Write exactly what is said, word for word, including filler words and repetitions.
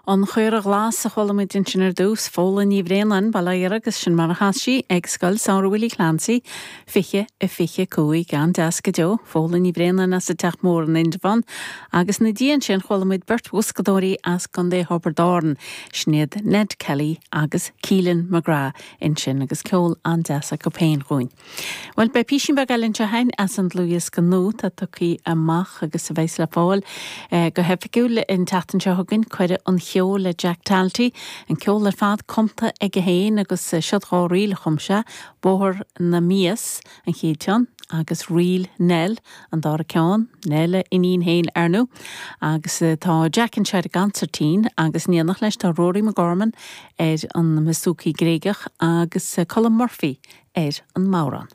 An Chaora Ghlas a chuala muid ansin ar dtús, Fódhla Ní Bhraonáin, Baile Átha agus sin mar a chas sí ag Scoil Samhraidh Willie Clancy fiche a fiche cúig an-deas go deo, Fódhla Ní Bhraonáin as an Teach Mór in Indreabhán, agus ina dhiaidh sin chuala muid beirt bhoscadóirí as Contae Thiobraid Árann, sin iad Ned Kelly agus Keelan McGrath ansin agus ceol an-deas acu féin dhúinn. Well beidh píosín beag eile anseo againn as an dlúthdhiosca nua atá tugtha amach agus a bheas le fáil eh, go hoifigiúil an tseachtain seo chugainn Cuireadh an Cheoil le Jack Talty, an ceol ar fad cumtha aige féin agus eh, siod dhá ríl a chum sé, Bóthar na Mias an chéad cheann agus Ríl Nell an dara ceann, Nell a iníon féin ar ndóigh, agus eh, tá Jack anseo ar an gconsairtín agus in éineacht leis tá Rory McGorman ar an mbouzouki Gréigeach agus eh, Colm Murphy ar an mbodhrán.